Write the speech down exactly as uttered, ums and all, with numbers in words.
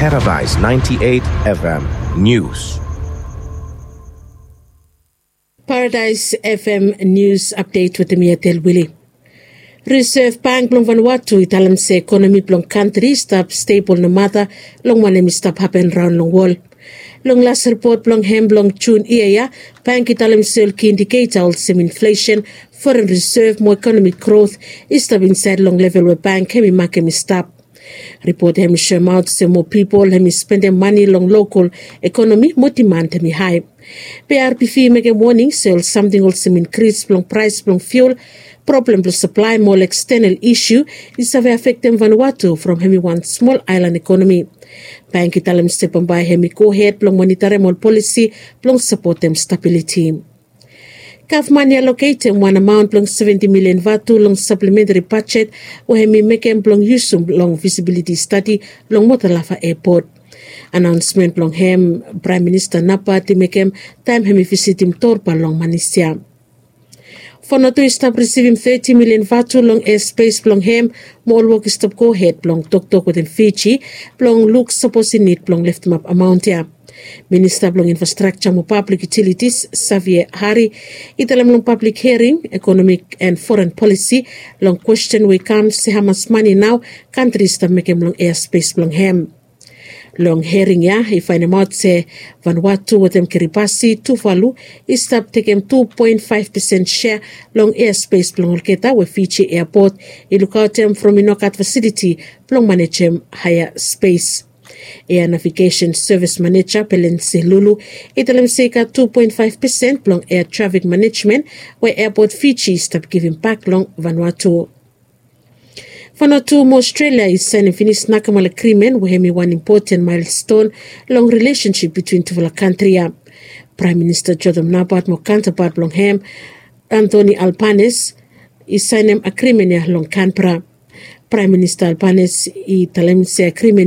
Paradise ninety-eight F M News. Paradise F M News Update wetem mi Atel Wili. Reserve Bank blong Vanuatu i talem se ekonomi blong kantri i stap stebol nomata long wanem i stap hapen raon long wol. Long las ripot blong hem blong Jun yia ya, bank i talem se ol ki indiketa olsem inflesen, foren reserve mo ekonomik grot i stap insaed long level we bank hem i makem i stap. Ripot hem i soemaot se moa pipol hem i spendem mane long lokol ekonomi mo diman hem i hae. Be arbifi i mekem woning se ol samting olsem inkris blong praes blong fiul, problem blong saplae mo ol ekstenel isu i save afektem Vanuatu from hem i wan smol aelan ekonomi. Bank i talem se bambae hem i gohed blong monitarem ol polisi blong sapotem stabiliti. Gavman i aloketem wan amaon blong seventi milian vatu long saplementari bajet we hem i mekem blong yusum long visibiliti stadi long Motalafa Epot. Anaonsmen blong hem Praem Minista Napat i mekem taem hem i visitim Torba long Manis ya. Vanuatu i stap risivim teti milian vatu long ea spes blong hem, mo ol wok i stap gohed blong toktok wetem Fiji blong luk sapos i nid blong leftemap amaon ya. Minista blong Infrastrakja mo Pablik Yutilitis, Xavier Hari, i talem long pablik hiaring ekonomik en foren polisi long kwesten we i kam se hamas mane nao kantri i stap mekem long ea spes blong hem. Long hiaring ya i faenemaot se Vanuatu wetem Kiribati, Tuvalu i stap tekem tu poen faef pesen sea long ea spes blong olgeta we Fiji eapot i lukaotem from i no gat fasiliti blong manejem haea spes. Ea navigesen sevis maneja Pelensi Lulu i talem se i gat tu poen faef pesen blong ea trafik manejmen we eapot Fiji i stap givim bak long Vanuatu. Vanuatu mo Aostrelia i saenem finis nakemal agrimen we hem i wan impoten maelston long rilesensip bitwin tufala kantri ya. Praem Minista Jotham Napat mo kaontapat blong hem, Anthony Albanese, i saenem agrimen ya long Kanbera. Praem Minista Albanese i talem se agrimen